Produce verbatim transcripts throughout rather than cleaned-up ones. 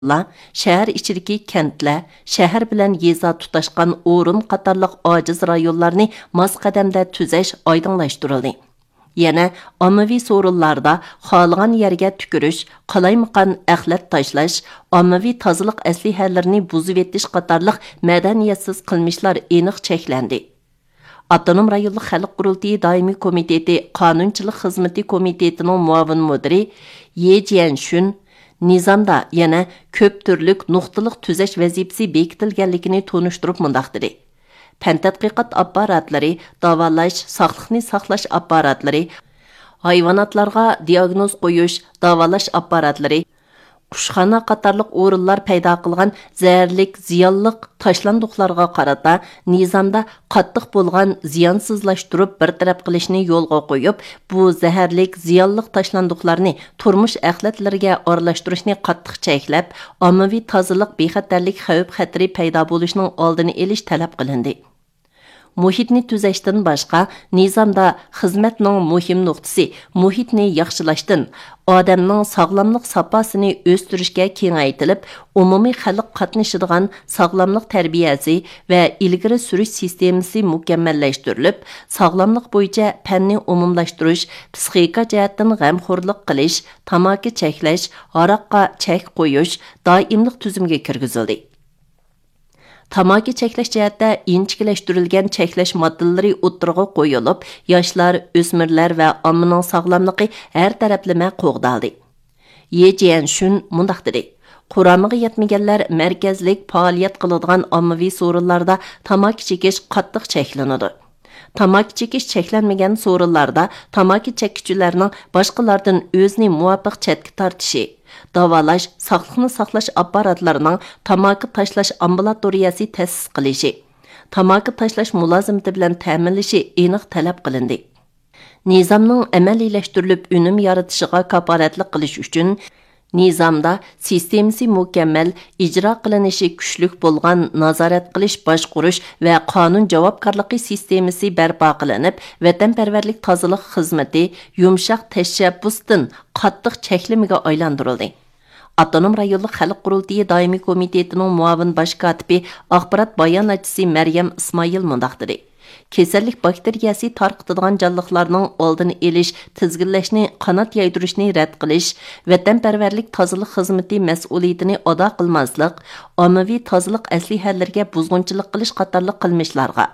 رايونلار، شەھەر ئىچىدىكى كەنتلەر، شەھەر بىلەن يېزا تۇتاشقان ئورۇن قاتارلىق ئاجىز رايونلارنى ماس قەدەمدە تۈزەش ئايدىڭلاشتۇرۇلدى. يەنە ئاممىۋى سورۇنلاردا خالىغان يەرگە تۈكۈرۈش، قالايمىقان ئەخلەت تاشلاش، ئاممىۋى تازىلىق ئەسلىھەلىرىنى بۇزۇۋېتىش قاتارلىق مەدەنىيەتسىز قىلمىشلار ئېنىق چەكلەندى. ئاپتونوم رايونلۇق خەلق قۇرۇلتىيى دائىمىي كومىتېتى قانۇنچىلىق خىزمىتى كومىتېتىنىڭ مۇئاۋىن مۇدىرى يې جيەنشۈن نىزامدا يەنە كۆپ تۈرلۈك نۇقتىلىق تۈزەش ۋەزىپىسى بېكىتىلگەنلىكىنى تونۇشتۇرۇپ مۇنداق دېدى: پەن تەتقىقات ئاپپاراتلىرى، داۋالاش، ساقلىقنى ساقلاش ئاپپاراتلىرى، ھايۋاناتلارغا دىئاگنوز قويۇش، داۋالاش ئاپپاراتلىرى، قۇشخانا قاتارلىق ئورۇنلار پەيدا قىلغان زەھەرلىك، زىيانلىق تاشلاندۇقلارغا قارىتا نىزامدا قاتتىق بولغان زىيانسىزلاشتۇرۇپ بىر تەرەپ قىلىشنى يولغا قويۇپ، بۇ زەھەرلىك، زىيانلىق تاشلاندۇقلارنى تۇرمۇش ئەخلەتلىرىگە ئارىلاشتۇرۇشنى قاتتىق چەكلەپ، ئاممىۋى تازىلىق بىخەتەرلىك خەۋپ-خەتىرى پەيدا بولۇشىنىڭ ئالدىنى ئېلىش تەلەپ قىلىندى. مۇھىتنى تۈزەشتىن باشقا، نىزامدا خىزمەتنىڭ مۇھىم نۇقتىسى مۇھىتنى ياخشىلاشتىن، ئادەمنىڭ ساغلاملىق ساپاسىنى ئۆستۈرۈشكە كېڭەيتىلىپ، ئومۇمىي خەلق قاتنىشىدىغان ساغلاملىق تەربىيەسى ۋە ئىلگىرى سۈرۈش سىستېمىسى مۇكەممەللەشتۈرۈلۈپ، ساغلاملىق بويىچە پەننى ئومۇملاشتۇرۇش، پىسخىكا جەھەتتىن غەمخورلۇق قىلىش، تاماكا چەكلەش، ھاراققا چەك قويۇش دائىملىق تۈزۈمگە كىرگۈزۈلدى. تاماكا چەكلەش جەھەتتە ئىنچىكىلەشتۈرۈلگەن چەكلەش ماددىلىرى ئوتتۇرىغا قويۇلۇپ، ياشلار، ئۆسمۈرلەر ۋە ئاممىنىڭ ساغلاملىقى ھەر تەرەپلىمە قوغدالدى. يې جيەنشۈن مۇنداق دېدى: قۇرامىغا يەتمىگەنلەر مەركەزلىك پائالىيەت قىلىدىغان ئاممىۋى سورۇنلاردا تاماكا چېكىش قاتتىق چەكلىنىدۇ. تاماكا چېكىش چەكلەنمىگەن سورۇنلاردا تاماكا چەككۈچىلەرنىڭ باشقىلاردىن ئۆزىنى مۇۋاپىق چەتكە تارتىشى، داۋالاش، ساقلىقنى ساقلاش ئاپپاراتلىرىنىڭ تاماكا تاشلاش ئامبۇلاتورىيەسى تەسىس قىلىشى، تاماكا تاشلاش مۇلازىمىتى بىلەن تەمىنلىشى ئېنىق تەلەپ قىلىندى. نىزامنىڭ ئەمەلىيلەشتۈرۈلۈپ ئۈنۈم يارىتىشىغا كاپالەتلىك قىلىش ئۈچۈن، نىزامدا سىستېمىسى مۇكەممەل، ئىجرا قىلىنىشى كۈچلۈك بولغان نازارەت قىلىش، باشقۇرۇش ۋە قانۇن جاۋابكارلىقى سىستېمىسى بەرپا قىلىنىپ، ۋەتەنپەرۋەرلىك تازىلىق خىزمىتى يۇمشاق تەشەببۇستىن قاتتىق چەكلىمىگە ئايلاندۇرۇلدى. ئاپتونوم رايونلۇق خەلق قۇرۇلتىيى دائىمىي كومىتېتىنىڭ مۇئاۋىن باش كاتىپى، ئاخبارات باياناتچىسى مەريەم ئىسمائىل مۇنداق دېدى: كېسەللىك باكتېرىيەسى تارقىتىدىغان جانلىقلارنىڭ ئالدىنى ئېلىش، تىزگىنلەشنى قانات يايدۇرۇشنى رەت قىلىش، ۋەتەنپەرۋەرلىك تازىلىق خىزمىتى مەسئۇلىيىتىنى ئادا قىلماسلىق، ئاممىۋى تازىلىق ئەسلىھەلىرىگە بۇزغۇنچىلىق قىلىش قاتارلىق قىلمىشلارغا،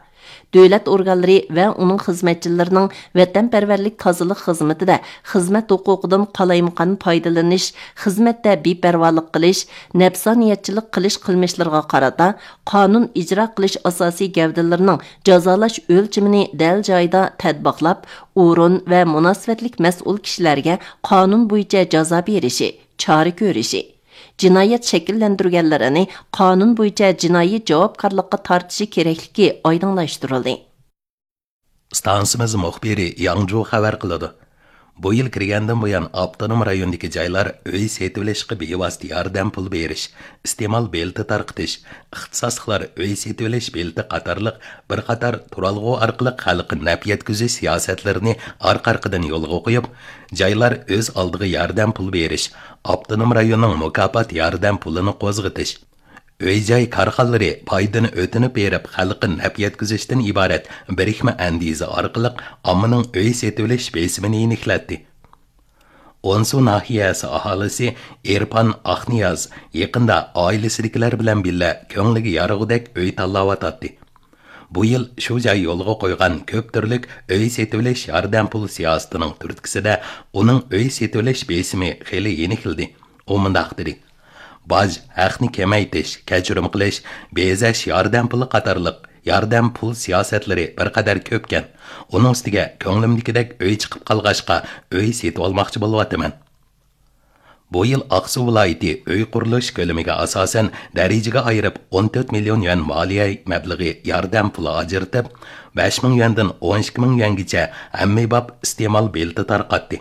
دۆلەت ئورگانلىرى ۋە ئۇنىڭ خىزمەتچىلىرىنىڭ ۋەتەنپەرۋەرلىك تازىلىق خىزمىتىدە خىزمەت ھوقۇقىدىن قالايمىقان پايدىلىنىش، خىزمەتتە بىپەرۋالىق قىلىش، نەپسانىيەتچىلىك قىلىش قىلمىشلىرىغا قارىتا، قانۇن ئىجرا قىلىش ئاساسىي گەۋدىلىرىنىڭ جازالاش ئۆلچىمىنى دەل جايىدا تەتبىقلاپ، ئورۇن ۋە مۇناسىۋەتلىك مەسئۇل كىشىلەرگە قانۇن بويىچە جازا بېرىشى، چارە كۆرۈشى، جىنايەت شەكىللەندۈرگەنلىرىنى قانۇن بويىچە جىنايى جاۋابكارلىققا تارتىشى كېرەكلىكى ئايدىڭلاشتۇرۇلدى. ئىستانسىمىز مۇخبىرى ياڭجۇ خەۋەر قىلىدۇ. بۇ يىل كىرگەندىن بۇيان، ئاپتونوم رايوندىكى جايلار ئۆي سېتىۋېلىشقا بىۋاسىتە ياردەم پۇل بېرىش، ئىستېمال بېلىتى تارقىتىش، ئىختىساسلىقلار ئۆي سېتىۋېلىش بېلىتى قاتارلىق بىر قاتار تۇرالغۇ ئارقىلىق خەلققە نەپ يەتكۈزۈش سىياسەتلىرىنى ئارقا-ئارقىدىن يولغا قويۇپ، جايلار ئۆز ئالدىغا ياردەم پۇل بېرىش، ئاپتونوم رايوننىڭ مۇكاپات ياردەم پۇلىنى قوزغىتىش، ئۆي-جاي كارخانىلىرى پايدىنى ئۆتۈنۈپ بېرىپ، خەلققە نەپ يەتكۈزۈشتىن ئىبارەت بىرىكمە ئەندىزە ئارقىلىق ئاممىنىڭ ئۆي سېتىۋېلىش بېسىمىنى يېنىكلەتتى. ئونسۇ ناھىيەسى ئاھالىسى ئېرپان ئاقنىياز يېقىندا ئائىلىسىدىكىلەر بىلەن بىللە كۆڭلىگە يارىغۇدەك ئۆي تاللاۋاتاتتى. بۇ يىل شۇ جاي يولغا قويغان كۆپ تۈرلۈك ئۆي سېتىۋېلىش ياردەم پۇل سىياسىتىنىڭ تۈرتكىسىدە ئۇنىڭ ئۆي سېتىۋېلىش بېسىمى خېلى يېنىكلىدى. ئۇ مۇنداق دېدى: باج ھەقنى كېمەيتىش، كەچۈرۈم قىلىش، بېزەش ياردەم پۇلى قاتارلىق ياردەم پۇل سىياسەتلىرى بىر قەدەر كۆپكەن. ئۇنىڭ ئۈستىگە كۆڭلۈمدىكىدەك ئۆي چىقىپ قالغاچقا، ئۆي سېتىۋالماقچى بولۇۋاتىمەن. بۇ يىل ئاقسۇ ۋىلايىتى ئۆي قۇرۇلۇش كۆلىمىگە ئاساسەن دەرىجىگە ئايرىپ، ئون تۆت مىليون يۈەن مالىيە مەبلىغى ياردەم پۇلى ئاجرىتىپ، بەش مىڭ يۈەندىن ئون ئىككى مىڭ يۈەنگىچە ھەممىباب ئىستېمال بېلىتى تارقاتتى.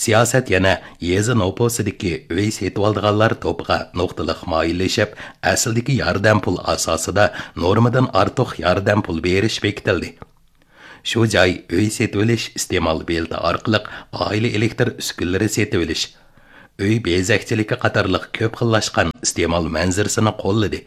سىياسەت يەنە يېزا نوپۇسىدىكى ئۆي سېتىۋالىدىغانلار توپىغا نۇقتىلىق مايىللىشىپ، ئەسلىدىكى ياردەم پۇل ئاساسىدا نورمىدىن ئارتۇق ياردەم پۇل بېرىش بېكىتىلدى. شۇ جاي ئۆي سېتىۋېلىش ئىستېمال بېلىتى ئارقىلىق ئائىلە ئېلېكتىر ئۈسكۈنىلىرى سېتىۋېلىش، ئۆي بېزەكچىلىكى قاتارلىق كۆپ خىللاشقان ئىستېمال مەنزىرىسىنى قوللىدى.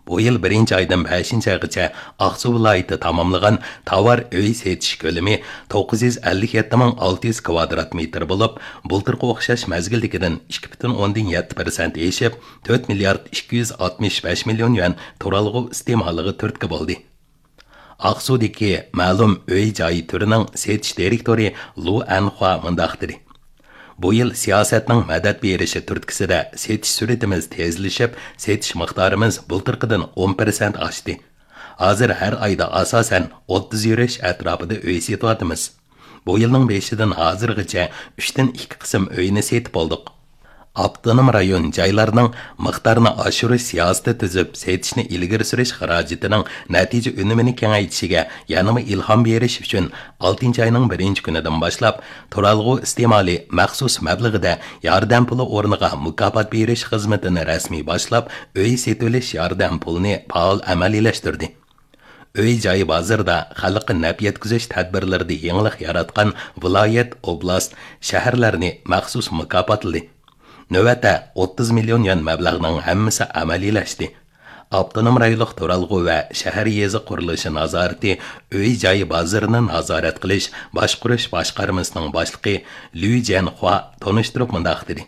بۇ يىل بىرىنچى ئايدىن بەشىنچى ئايغىچە ئاقسۇ ۋىلايىتى تاماملىغان تاۋار ئۆي سېتىش كۆلىمى توققۇز يۈز ئەللىك يەتتە مىڭ ئالتە يۈز كۋادرات مېتىر بولۇپ، بۇلتۇرقى ئوخشاش مەزگىلدىكىدىن ئىككى پۈتۈن ئوندىن يەتتە پىرسەنت ئېشىپ، تۆت مىليارد ئىككى يۈز ئاتمىش بەش مىليون يۈەن تۇرالغۇ ئىستېمالىغا تۈرتكە بولدى. ئاقسۇدىكى مەلۇم ئۆي جاي تۈرىنىڭ سېتىش دىرېكتورى لۇ ئەنخۇا مۇنداق دېدى: بۇ يىل سىياسەتنىڭ مەدەت بېرىشى تۈرتكىسىدە سېتىش سۈرئىتىمىز تېزلىشىپ، سېتىش مىقدارىمىز بۇلتۇرقىدىن ئون پىرسەنت ئاشتى. ھازىر ھەر ئايدا ئاساسەن ئوتتۇز يۈرۈش ئەتراپىدا ئۆي سېتىۋاتىمىز. بۇ يىلنىڭ بېشىدىن ھازىرغىچە ئۈچتىن ئىككى قىسىم ئۆينى سېتىپ بولدۇق. ئاپتونوم رايون جايلارنىڭ مىقدارنى ئاشۇرۇش سىياسىتى تۈزۈپ، سېتىشنى ئىلگىرى سۈرۈش خىراجىتىنىڭ نەتىجە ئۈنۈمىنى كېڭەيتىشىگە يەنىمۇ ئىلھام بېرىش ئۈچۈن، ئالتىنچى ئاينىڭ بىرىنچى كۈنىدىن باشلاپ تۇرالغۇ ئىستېمالى مەخسۇس مەبلىغىدە ياردەم پۇلى ئورنىغا مۇكاپات بېرىش خىزمىتىنى رەسمىي باشلاپ، ئۆي سېتىۋېلىش ياردەم پۇلىنى پائال ئەمەلىيلەشتۈردى. ئۆي جاي بازىرىدا خەلققە نەپ يەتكۈزۈش تەدبىرلىرىدا يېڭىلىق ياراتقان ۋىلايەت، ئوبلاست، شەھەرلەرنى مەخسۇس مۇكاپاتلىدى. نۆۋەتتە ئوتتۇز مىليون يۈەن مەبلەغنىڭ ھەممىسى ئەمەلىيلەشتى. ئاپتونوم رايونلۇق تۇرالغۇ ۋە شەھەر يېزا قۇرۇلۇشى نازارىتى ئۆي جاي بازىرىنى نازارەت قىلىش باشقۇرۇش باشقارمىسىنىڭ باشلىقى لۈ جيەنخۇا تونۇشتۇرۇپ مۇنداق دېدى: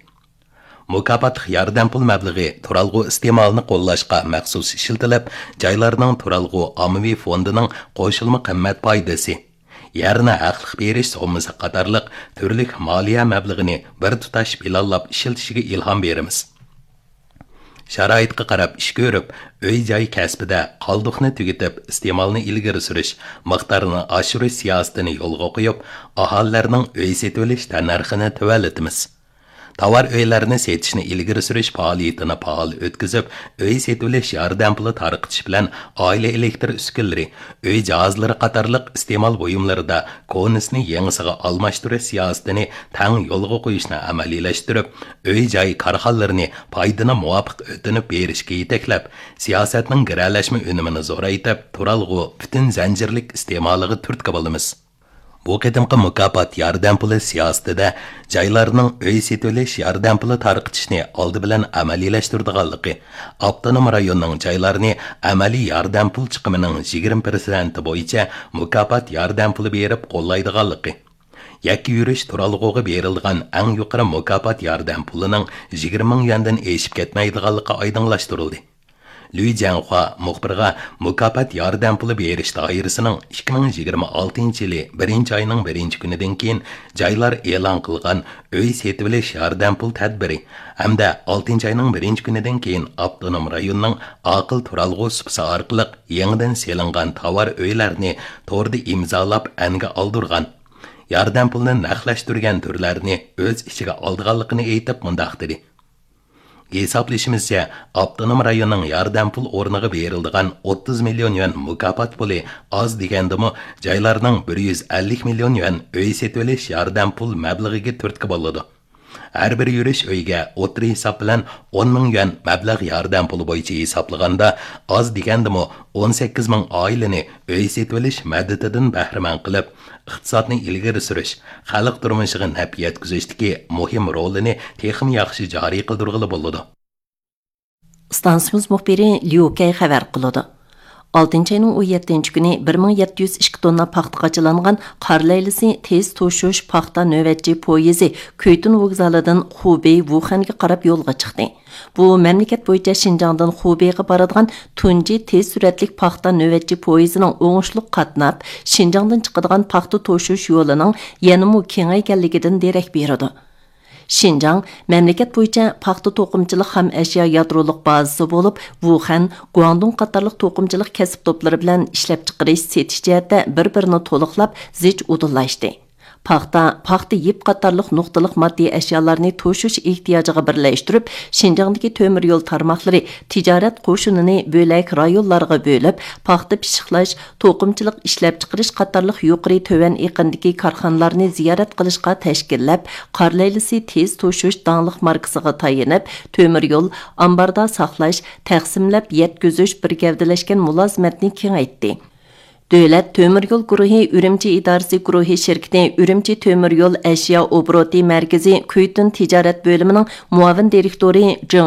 مۇكاپاتلىق ياردەم پۇل مەبلىغى تۇرالغۇ ئىستېمالىنى قوللاشقا مەخسۇس ئىشلىتىلىپ، جايلارنىڭ تۇرالغۇ ئاممىۋى فوندىنىڭ قوشۇلما قىممەت پايدىسى، يەرنى ھەقلىق بېرىش سوممىسى قاتارلىق تۈرلۈك مالىيە مەبلىغىنى بىر تۇتاش پىلانلاپ ئىشلىتىشىگە ئىلھام بېرىمىز. شارائىتقا قاراپ ئىش كۆرۈپ، ئۆي جاي كەسپىدە قالدۇقنى تۈگىتىپ، ئىستېمالنى ئىلگىرى سۈرۈش، مىقدارنى ئاشۇرۇش سىياسىتىنى يولغا قويۇپ، ئاھالىلەرنىڭ ئۆي سېتىۋېلىش تەننەرخىنى تۆۋەنلىتىمىز. تاۋار ئۆيلەرنى سېتىشنى ئىلگىرى سۈرۈش پائالىيىتىنى پائال ئۆتكۈزۈپ، ئۆي سېتىۋېلىش ياردەم پۇلى تارقىتىش بىلەن ئائىلە ئېلېكتىر ئۈسكۈنىلىرى، ئۆي جاھازلىرى قاتارلىق ئىستېمال بۇيۇملىرىدا كونىسىنى يېڭىسىغا ئالماشتۇرۇش سىياسىتىنى تەڭ يولغا قويۇشنى ئەمەلىيلەشتۈرۈپ، ئۆي جاي كارخانىلىرىنى پايدىنى مۇۋاپىق ئۆتۈنۈپ بېرىشكە يېتەكلەپ، سىياسەتنىڭ گىرەلەشمە ئۈنۈمىنى زورايتىپ، تۇرالغۇ پۈتۈن زەنجىرلىك ئىستېمالىغا تۈرتكە بولىمىز. بۇ قېتىمقى مۇكاپات ياردەم پۇلى سىياسىتىدە جايلارنىڭ ئۆي سېتىۋېلىش ياردەم پۇلى تارقىتىشنى ئالدى بىلەن ئەمەلىيلەشتۈرىدىغانلىقى، ئاپتونوم رايوننىڭ جايلارنى ئەمەلىي ياردەم پۇل چىقىمىنىڭ يىگىرمە پىرسەنتى بويىچە مۇكاپات ياردەم پۇلى بېرىپ قوللايدىغانلىقى، يەككە يۈرۈش تۇرالغۇغا بېرىلىدىغان ئەڭ يۇقىرى مۇكاپات ياردەم پۇلىنىڭ يىگىرمە مىڭ يۈەندىن ئېشىپ كەتمەيدىغانلىقى ئايدىڭلاشتۇرۇلدى. لۈي جيەنخۇا مۇخبىرغا مۇكاپات ياردەم پۇلى بېرىش دائىرىسىنىڭ ئىككى مىڭ يىگىرمە ئالتىنچى يىلى بىرىنچى ئاينىڭ بىرىنچى كۈنىدىن كېيىن جايلار ئېلان قىلغان ئۆي سېتىۋېلىش ياردەم پۇل تەدبىرى ھەمدە ئالتىنچى ئاينىڭ بىرىنچى كۈنىدىن كېيىن ئاپتونوم رايوننىڭ ئاقىل تۇرالغۇ سۇپىسى ئارقىلىق يېڭىدىن سېلىنغان تاۋار ئۆيلەرنى توردا ئىمزالاپ ئەنگە ئالدۇرغان، ياردەم پۇلىنى نەقلەشتۈرگەن تۈرلەرنى ئۆز ئىچىگە ئالىدىغانلىقىنى ئېيتىپ مۇنداق دېدى: ھېسابلىشىمىزچە، ئاپتونوم رايوننىڭ ياردەم پۇل ئورنىغا بېرىلىدىغان ئوتتۇز مىليون يۈەن مۇكاپات پۇلى ئاز دېگەندىمۇ جايلارنىڭ بىر يۈز ئەللىك مىليون يۈەن ئۆي سېتىۋېلىش ياردەم پۇل مەبلىغىگە تۈرتكە بولىدۇ. ھەر بىر يۈرۈش ئۆيگە ئوتتۇرا ھېساب بىلەن ئون مىڭ يۈەن مەبلەغ ياردەم پۇلى بويىچە ھېسابلىغاندا، ئاز دېگەندىمۇ ئون سەككىز مىڭ ئائىلىنى ئۆي سېتىۋېلىش مەدىتىدىن بەھرىمەن قىلىپ، ئىقتىسادنى ئىلگىرى سۈرۈش، خەلق تۇرمۇشىغا نەپ يەتكۈزۈشتىكى مۇھىم رولىنى تېخىمۇ ياخشى جارى قىلدۇرغىلى بولىدۇ. ئىستانسىمىز مۇخبىرى ليۇ كەي خەۋەر قىلىدۇ. ئالتىنچى ئاينىڭ ئون يەتتىنچى كۈنى بىر مىڭ يەتتە يۈز ئىككى توننا پاختا قاچىلانغان قار لەيلىسى تېز توشۇش پاختا نۆۋەتچى پويىزى كۈيتۇن ۋوگزالىدىن خۇبېي ۋۇخەنگە قاراپ يولغا چىقتى. بۇ مەملىكەت بويىچە شىنجاڭدىن خۇبېيغا بارىدىغان تۇنجى تېز سۈرئەتلىك پاختا نۆۋەتچى پويىزىنىڭ ئوڭۇشلۇق قاتناپ، شىنجاڭدىن چىقىدىغان پاختا توشۇش يولىنىڭ يەنىمۇ كېڭەيگەنلىكىدىن دېرەك بېرىدۇ. شىنجاڭ مەملىكەت بويىچە پاختا توقۇمىچىلىق خام ئەشيا يادرولۇق بازىسى بولۇپ، ۋۇخەن، گۇاڭدۇڭ قاتارلىق توقۇمىچىلىق كەسىپ توپلىرى بىلەن ئىشلەپچىقىرىش، سېتىش جەھەتتە بىر-بىرىنى تولۇقلاپ، زىچ ئۇدۇللاشتى. پاختا، پاختا يىپ قاتارلىق نۇقتىلىق ماددىي ئەشيالارنى توشۇش ئېھتىياجىغا بىرلەشتۈرۈپ، شىنجاڭدىكى تۆمۈر يول تارماقلىرى تىجارەت قوشۇنىنى بۆلەك رايونلارغا بۆلۈپ، پاختا پىششىقلاش، توقۇمىچىلىق ئىشلەپچىقىرىش قاتارلىق يۇقىرى تۆۋەن ئېقىندىكى كارخانىلارنى زىيارەت قىلىشقا تەشكىللەپ، قار لەيلىسى تېز توشۇش داڭلىق ماركىسىغا تايىنىپ، تۆمۈر يول، ئامباردا ساقلاش، تەقسىملەپ يەتكۈزۈش بىر گەۋدىلەشكەن مۇلازىمەتنى كېڭەيتتى. دۆلەت تۆمۈر يول گۇرۇھى ئۈرۈمچى ئىدارىسى گۇرۇھى شىركىتى ئۈرۈمچى تۆمۈر يول ئەشيا ئوبوروتى مەركىزى كۈيتۈن تىجارەت بۆلۈمىنىڭ مۇئاۋىن دىرېكتورى جېڭ